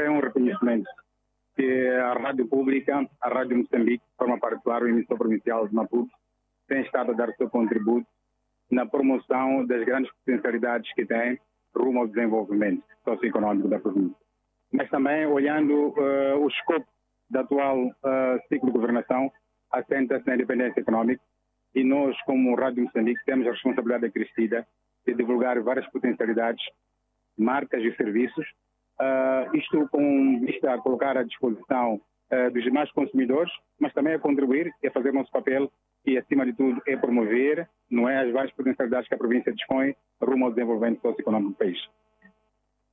É um reconhecimento que a Rádio Pública, a Rádio Moçambique, de forma particular, o emissor provincial de Maputo, tem estado a dar o seu contributo na promoção das grandes potencialidades que tem rumo ao desenvolvimento socioeconômico da província. Mas também, olhando o escopo da atual ciclo de governação, assenta-se na independência econômica e nós, como Rádio Moçambique, temos a responsabilidade acrescida de divulgar várias potencialidades, marcas e serviços, isto com vista a colocar à disposição dos demais consumidores, mas também a contribuir e a fazer o nosso papel e, acima de tudo, é promover, não é, as várias potencialidades que a província dispõe rumo ao desenvolvimento socioeconômico do país.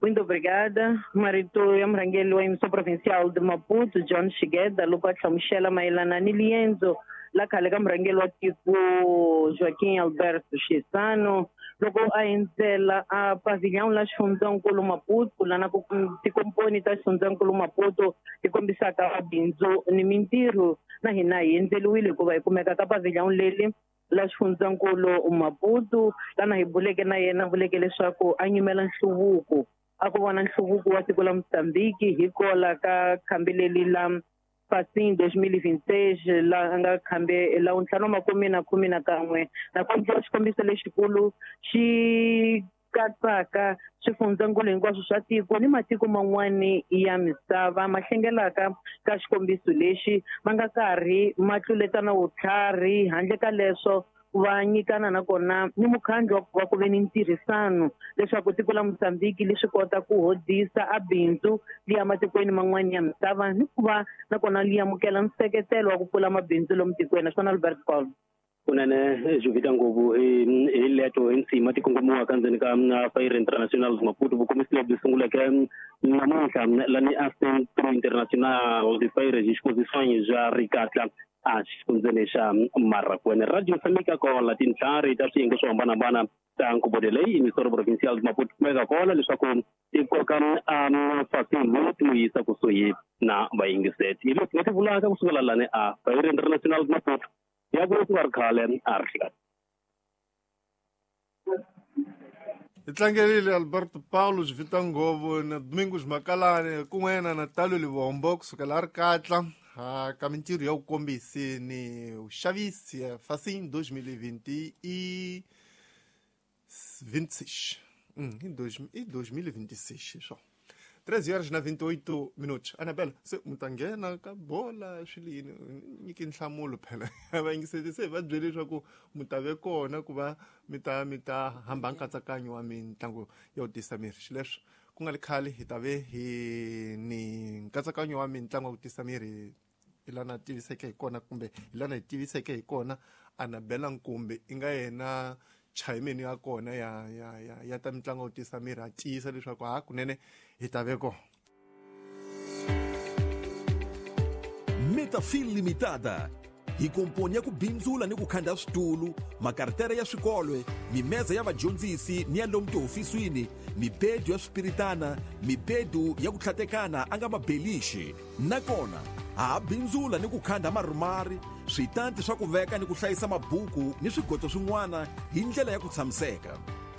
Muito obrigada. Marito ya murhangeri wa emissão provincial de Maputo, John Shigeda, loko a hlamusela mayelana ni liendzo la khale ka murhangeri wa tiko Joaquim Alberto Chissano loko a endzela a pavilhão la xifundzankulu Maputo, lana ku tikomponi ta xifundzankulu Maputo ti kombisaka mabindzu ni mintirho. Na hina hi endzeliwile hikuva hi kumeka ka pavilhão leli la xifundzankulu Maputo, lana hi buleke na yena vuleke leswaku a nyimela nhluvuko, a ku vona nhluvuko wa tiko la Mozambique hi kola ka khambi leli la Facim 2026 la nga khambe la 2011 na kombisa xikombiso lexikulu xi katsaka swifundzankulu hinkwaswo swa tiko ni matiko man'wani ya misava ma hlengelaka ka xikombiso lexi ma nga karhi ma tluletana vutlhari. Handle ka leswo va nyikana nakona ni mukhandlu wa ku ve ni ntirhisano leswaku tiko la Mozambique li swi kota ku hodisa a bindzu li ya matikweni man'wani ya misava ni ku va nakona li amukela nseketelo wa ku pfula mabindzu lomu tikweni. Naswona Albert Paul kunene Jovita ngopfu hi leto hi nsima ti kongomiwaka ndzeni ka Feira Internacional Maputo. Vukomisi lebyi sunguleke namuntlha lani a Centro Internacional de Feiras e Exposições ja Ricatla a xifundzeni xa Marracuene. Radio Moçambique kola tintlhari ta swiyenge swo hambanahambana ta nkhuvo leyi emissora provincial de Maputo kumeka kona leswaku ti koka Facim ti n'wi yisa kusuhi na vayingiseti. Hi leswi nga ti vulaka kusukela lani a Feira Internacional de Maputo ya ku nga ri khale a ri hleketa. Hi tlangerile Alberto Paulo Jovita Ngovo na Domingos Makalane kun'we na Natalio Livombo kusukela a ri katla ka mintirho ya vukombisi ni vuxavisi ya Facim 2026 em 2026 só 13 horas na 28 minutos. Anabela, se mi ta nghena ka bola swi yini nyiki nhlamulo phela va yingiseti se va byele leswaku mi ta ve kona ku va mi ta hamba nkatsakanyo wa mitlangu ya ku tisa miri. Xileswo ku nga ri khale hi ta ve hi ni nkatsakanyo wa mitlangu ya ku tisa miri hi lana tiviseke hi kona kumbe hi lana hi tiviseke hi kona Anabela Nkumbi i nga yena chairman ya kona ya ya ya ya ta mitlangu ya ku tisa miri a tiyisa leswaku ha kunene hi ta ve kona. Metafil Limitada hi komponi ya ku bindzula ni ku khanda switulu, makartere ya swikolwe, mimeza ya vadyondzisi ni ya lomu tihofisini, mibedu ya swipiritana, mibedu ya ku tlhatekana a nga mabelixi. Nakona ha bindzula ni ku khanda marumari, switanti swa ku veka ni ku hlayisa mabuku ni swigoto swin'wana hi ndlela ya ku tshamiseka.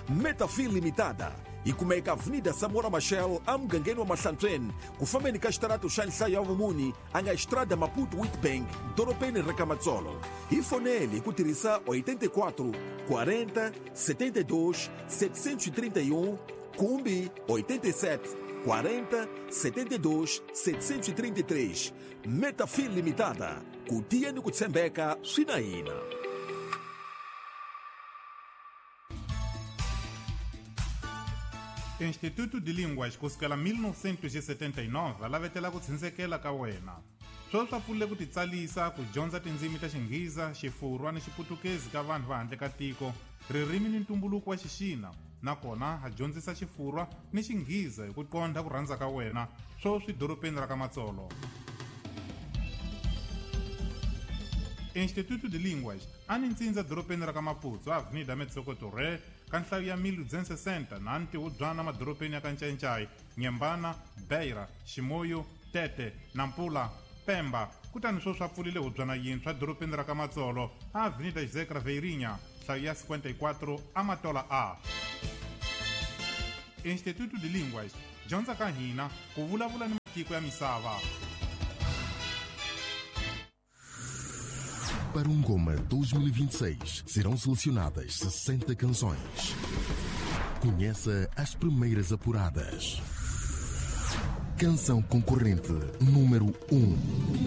Metafil Limitada hi kumeka Avenida Samora Machel emugangeni wa Mahlantsweni ku fambeni ka xitarato xa nhlayo ya vumuni a nga Estrada Maputo Witbank dorobeni ra Kamatsolo. Hi fonele hi ku tirhisa 84 40 72 731 kumbe 87 40 72 733. Metafil Limitada, ku tiya ni ku tshembeka swi na hina. Instituto de Línguas kusukela 1979 alavetela ku tshindzekela ka wena. Sweswi swa pfulile ku titsalisa ku dyondza tindzimi ta Xinghiza, Xifurwa ni Xiputukezi ka vanhu va handle ka tiko, ririmi ni ntumbuluko wa Xixina, nakona ha dyondzisa Xifurwa ni Xinghiza hi ku qondha ku rhandza ka wena, sweswi dorobeni ra ka Matsolo. Instituto de Línguas a ni ntsindza dorobeni ra ka Maputo, Avenida Metsoko Torre, ka nhlayo ya 1260 na ntihubyana madorobeni ya ka Ncayincai, Nyembana, Beira, Ximoyo, Tete, Nampula, Pemba. Kutani sweswi a pfulile hubyana yintshwa dorobeni ra ka Matsolo, Avenida José Craveirinha, nhlayo ya 54 Amatola A. Instituto de Línguas, dyondza ka hina ku vulavula ni Tiko ya misava. Para o Ngoma 2026 serão selecionadas 60 canções. Conheça as primeiras apuradas. Canção concorrente número 1.